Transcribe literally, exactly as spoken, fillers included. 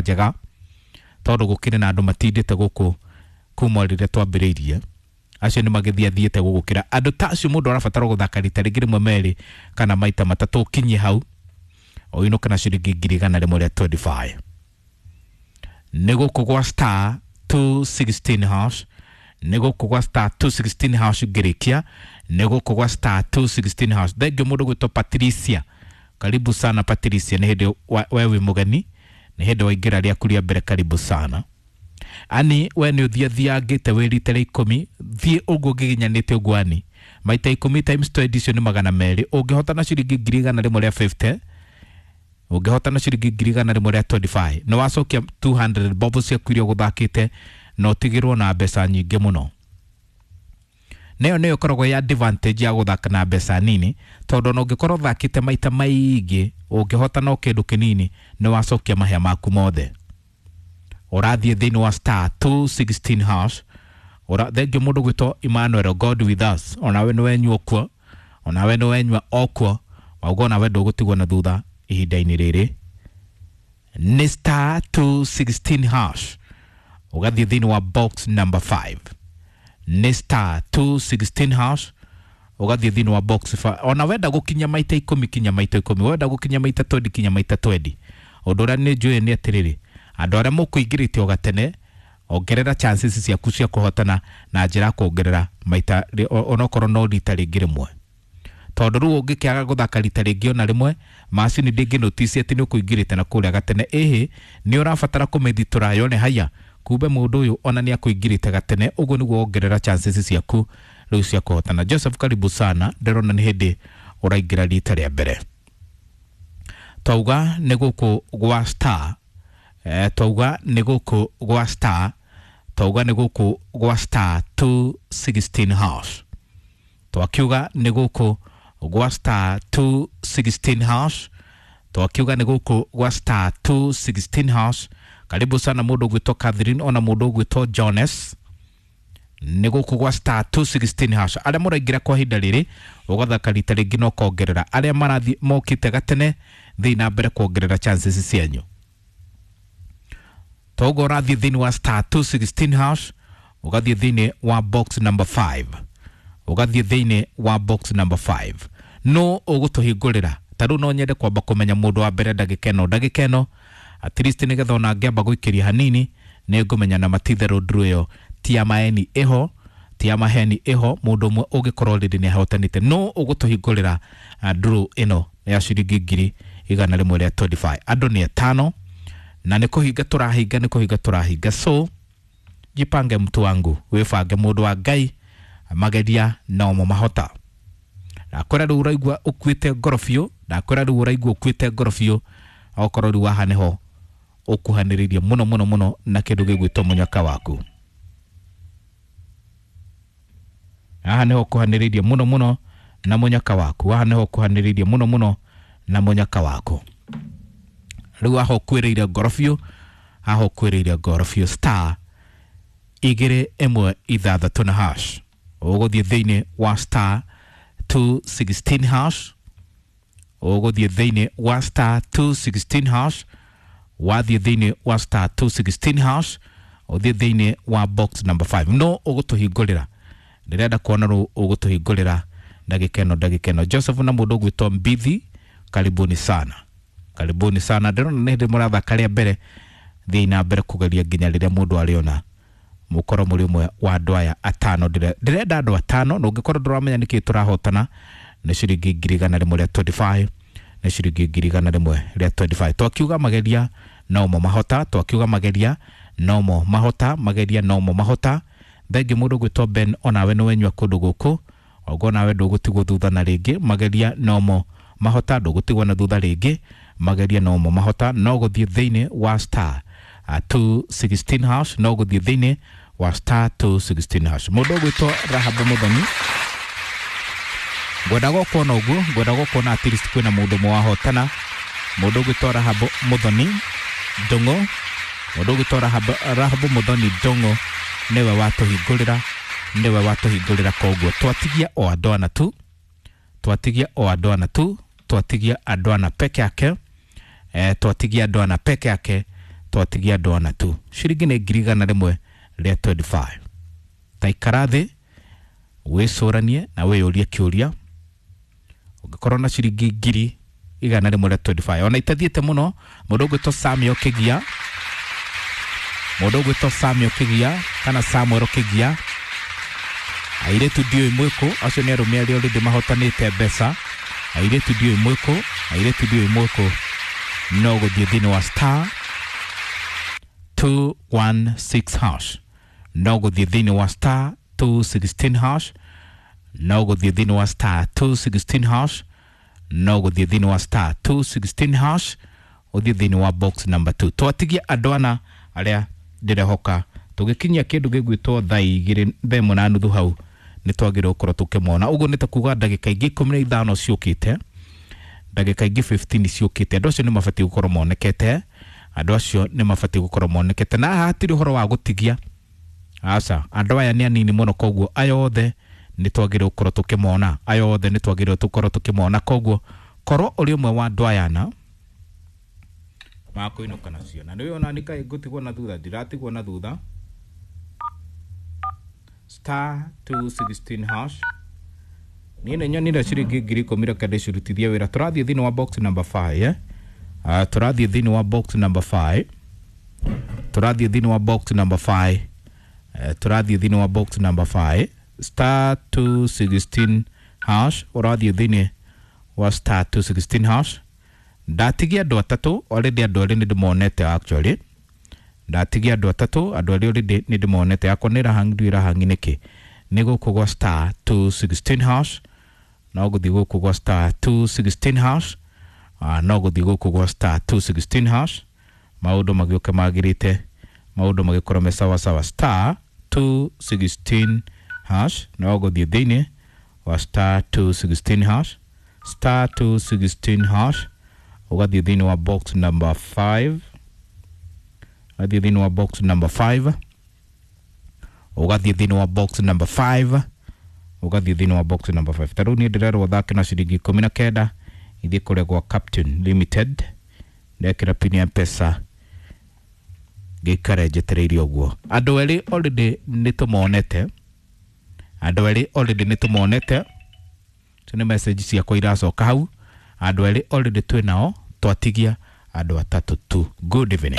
Njega tondũ gũkĩrĩ na andũ matindĩte gũkũ kuma rĩrĩa twambĩrĩirie, acio nĩ magĩthiĩ athiĩte gũgũkĩra. Andũ ta acio mũndũ arabatara gũthaka rita rĩngĩ rĩmwe, merĩ kana maita matatũ, ũkinyie hau ũinũke na ciringi ngiri igana rĩmwe rĩa mĩrongo ĩrĩ na ithano. Nĩ gũkũ gwa star two sixteen hash, nĩ gũkũ gwa star two sixteen hash. Ngĩrĩkia nĩ gũkũ gwa star two sixteen hash. Thengiũ mũndũ gwĩtwo Patricia, karibu sana Patricia. Nĩ hĩndĩ we wĩ mũgeni, nĩ hĩndĩ waingĩra rĩaku rĩa mbere, karibu sana. Ani we nĩ ũthiathiangĩte wĩ rita rĩa ikũmi, thiĩ ũguo ngĩginyanĩte ũguo. Ani maita ikũmi times twenty, icio nĩ magana merĩ. Ũngĩhota na ciringi ngiri igana rĩmwe rĩa mĩrongo ĩtano, ũngĩhota na ciringi ngiri igana rĩmwe rĩa mĩrongo ĩrĩ na ithano, nĩ wacokia magana merĩ bob ciaku iria ũgũthakĩte na ũtigĩrwo na mbeca nyingĩ mũno. Nayo nĩyo ĩkoragwo ya advantage ya gũthaka na mbeca nini, tondũ ona ũngĩkorwo ũthakĩte maita maingĩ, ũngĩhota no kĩndũ kĩnini, nĩ wacokia mahĩa maku mothe. Ũrathiĩ thĩinĩ wa star two sixteen hash. Ura thengio mũndũ gwĩtwo Emmanuel, God with us, onawe nĩ wenyua kuo, onawe nĩ wenyua okuo wauga, onawe ndũgũtigwo na thutha ihinda-inĩ rĩrĩ. Nĩ star two sixteen hash, ũgathiĩ thĩinĩ wa box number five. Nĩ star two sixteen hash, ũgathiĩ thĩinĩ wa box five. Ona wenda gũkinya maita ikũmi, kinya maita ikũmi. Wenda gũkinya maita mĩrongo ĩrĩ, kinya maita mĩrongo ĩrĩ. Ũndũ ũrĩa nĩ njũĩ nĩ atĩrĩrĩ, andũ arĩa mũkũingĩrĩte o gatene, ongerera chances ciaku cia kũhotana na njĩra ya kuongerera maita onokorwo no rita rĩngĩ rĩmwe, tondũ rĩu ũngĩkĩaga gũthaka rita rĩngĩ ona rĩmwe, macini ndĩngĩ notice atĩ nĩ ũkũingĩrĩte na kũrĩa gatene. Ĩhĩ, nĩ ũrabatara kũmĩthitũra yone haya, kumbe mũndũ ũyũ ona nĩ akũingĩrĩte gatene. Ũguo nĩguo wongerera chances ciaku rĩu cia kũhotana. Joseph, karibu sana, ndĩrona nĩ hĩndĩ ũraingĩra rita rĩa mbere. Twauga nĩ gũkũ gwa star, eh, twauga nĩ gũkũ gwa star, twauga nĩ gũkũ gwa star two sixteen hash, twakiuga nĩ gũkũ gwa star two sixteen hash, twakiuga nĩ gũkũ gwa star two sixteen hash. Karibu sana mũndũ ũgwĩtwo Catherine, ona mũndũ ũgwĩtwo Jones. Nĩ gũkũ gwa star two sixteen hash. Arĩa mũraingĩra kwa ihinda rĩrĩ, ũgathaka rita rĩngĩ na ũkongerera. Arĩa marathiĩ mokĩte gatene, thiĩ na mbere kuongerera chances cianyu. Toguo ũrathiĩ thĩinĩ wa star two sixteen hash, ũgathiĩ thĩinĩ wa box number five, ũgathiĩ thĩinĩ wa box number five. No ũgũtũhingũrĩra ta rĩu no nyende kwamba kũmenya mũndũ wa mbere ndagĩka ĩno, ndagĩka ĩno at least, nĩgetha ona ngĩamba gũikĩria hanini nĩ ngũmenya na matitherũ nduru ĩyo ti ya maeni ĩho, ti ya maheni ĩho. Mũndũ ũmwe ũngĩkorwo rĩrĩ nĩ ahotanĩte, no ũgũtũhingũrĩra nduru ĩno ya ciringi ngiri igana rĩmwe rĩa mĩrongo ĩrĩ na ithano. Andũ nĩ atano na nĩ kũhinga tũrahinga, nĩ kũhinga tũrahinga. So jipange mtu wangu, wĩbange mũndũ wa Ngai, mageria nomo mahota. Ndakwĩra rĩu ũraigua ũkuĩte ngoro biũ, ndakwĩra rĩu ũraigua ũkuĩte ngoro biũ, okorwo rĩu haha nĩho ũkuhanĩrĩirie mũno mũno mũno na kĩndũ gĩgwĩtwo mũnyaka waku. Haha nĩho ũkuhanĩrĩirie mũno mũno na mũnyaka waku, haha nĩho ũkuhanĩrĩirie mũno mũno na mũnyaka waku. Rĩu haha ũkuĩrĩire ngoro biũ, haha ũkuĩrĩire ngoro biũ. Star igĩrĩ ĩmwe ithathatũ na hash, ũgũthiĩ thĩinĩ wa star two sixteen hash, ũgũthiĩ thĩinĩ wa star two sixteen hash. Wathiĩ thĩinĩ wa star two sixteen hash, ũthiĩ thĩinĩ wa box number five. No ũgũtũhingũrĩra, ndĩrenda kuona rũ ũgũtũhingũrĩra ndagĩka ĩno, ndagĩka ĩno. Joseph na mũndũ ũgwĩtwo Mbithi, karibuni sana, karibuni sana. Ndĩrona nĩ hĩndĩ mũrathaka rĩa mbere, thiĩ na mbere kũgeria nginya rĩrĩa mũndũ arĩona mũkorwo mũrĩ ũmwe wa andũ aya atano. Ndĩrenda andũ atano, na ũngĩkorwo ndũramenya nĩkĩ tũrahotana, nĩ ciringi ngiri igana rĩmwe rĩa mĩrongo ĩrĩ na ithano, nĩ ciringi ngiri igana rĩmwe rĩa mĩrongo ĩrĩ na ithano. Twakiuga mageria nomo mahota, twakiuga mageria nomo mahota, mageria nomo mahota. Thengi mũndũ gwĩtwo Ben, onawe nĩ wenyua kũndũ gũkũ ogo, nawe ndũgũtigwo thutha na rĩngĩ. Mageria nomo mahota, ndũgũtigwo na thutha rĩngĩ. Mageria nomo mahota, no gũthiĩ thĩinĩ wa star uh, two sixteen hash, no gũthiĩ thĩinĩ wa star two sixteen hash. Mũndũ ũgwĩtwo Rahabu Mũthoni, ngwendaga ũkuona ũguo, ngwendaga ũkuona at least kwĩna mũndũ ũmwe wahotana. Mũndũ ũgwĩtwo Rahabu Mũthoni Ndũng'ũ, mũndũ ũgwĩtwo Rahabu, Rahabu Mũthoni Ndũng'ũ nĩwe watũhingũrĩra, nĩwe watũhingũrĩra. Koguo twatigia o andũ ana tu, twatigia o andũ ana tu, twatigia andũ ana peke yake, eh, twatigia andũ ana peke yake. Twatigia andũ ana tu. Ciringi nĩ ngiri igana rĩmwe rĩa twenty-five. Ta ikara thĩ wĩcũranie na wĩyũrie kĩũria, ũngĩkorwo na ciringi ngiri igana rĩmwe rĩa twenty-five ona itathiĩte mũno. Mũndũ ũgwĩtwo Samuel Kĩgia, mũndũ ũgwĩtwo Samuel Kĩgia kana Samuel Kĩgia, airĩtu ndiũĩ mwĩkũ, acio nĩ arũme arĩa already mahotanĩte mbeca. Airĩtu ndiũĩ mwĩkũ, airĩtu ndiũĩ mwĩkũ, no gũthiĩ thĩinĩ wa star two one six hash, no gũthiĩ thĩinĩ wa star two sixteen hash, no gũthiĩ thĩinĩ wa star two sixteen hash, no gũthiĩ thĩinĩ wa star two sixteen hash, ũthiĩ thĩinĩ wa box number two. Twatigia andũ ana arĩa ndĩrehoka tũgĩkinyia kĩndũ gĩgwĩtwo thaa igĩrĩ thaa ĩmwe na nuthu hau nĩ twagĩrĩirwo gũkorwo tũkĩmona. Ũguo nĩ ta kuga ndagĩka ingĩ ikũmi na ithano ciũkĩte, ndagĩka ingĩ fifteen ciũkĩte, andũ acio nĩ mabatiĩ gũkorwo monekete, andũ acio nĩ mabatiĩ gũkorwo monekete. Na haha hatirĩ ũhoro wa gũtigia, aca, andũ aya nĩ anini mũno, koguo aya othe nĩ twagĩrĩirwo gũkorwo tũkĩmona, aya othe nĩ twagĩrĩirwo tũkorwo tũkĩmona. Koguo korwo ũrĩ ũmwe wa andũ aya na makũinũka nacio, na nĩũĩ ona nĩ kaĩ ngũtigwo na thutha, ndiratigwo na thutha. Star two sixteen hash. Niĩ nĩ nyonire ciringi ngiri ikũmi, reke ndĩcirutithie wĩra. Tũrathiĩ thĩinĩ wa box number five, eh? Uh, tũrathiĩ thĩinĩ wa box number five, tũrathiĩ thĩinĩ wa box number five, uh, tũrathiĩ thĩinĩ wa box number five, star two sixteen hash, ũrathiĩ thĩinĩ wa star two sixteen hash. Ndatigia andũ atatũ already, andũ erĩ nĩ ndĩmonete actually, ndatigia andũ atatũ, andũ erĩ already nĩ ndĩmonete. Yakwa nĩ ĩrahangi, ndiũĩ ĩrahangi nĩkĩ. Nĩ gũkũ gwa star two sixteen hash, no gũthiĩ gũkũ gwa star two sixteen hash, uh, no gũthiĩ gũkũ gwa star two sixteen hash, maũndũ magĩũke magĩrĩte, maũndũ magĩkorwo me sawa sawa. Star two sixteen hash, no gũthiĩ thĩinĩ wa star two sixteen hash, star two sixteen hash, ũgathiĩ thĩinĩ wa box number five, ũgathiĩ thĩinĩ wa box number five, ũgathiĩ thĩinĩ wa box number five, ũgathiĩ thĩinĩ wa box number five. Ta rĩu niĩ ndĩrerwo thake na ciringi ikũmi na kenda, ithiĩ kũrĩa gwa Captain Limited, ndekĩra pin ya M-Pesa, ngĩikare njetereire ũguo. Andũ erĩ already nĩ tũmonete, andũ erĩ already nĩ tũmonete, icio nĩ message ciakwa iracoka hau. Andũ erĩ already twĩ nao, twatigia andũ atatũ tu. Good evening.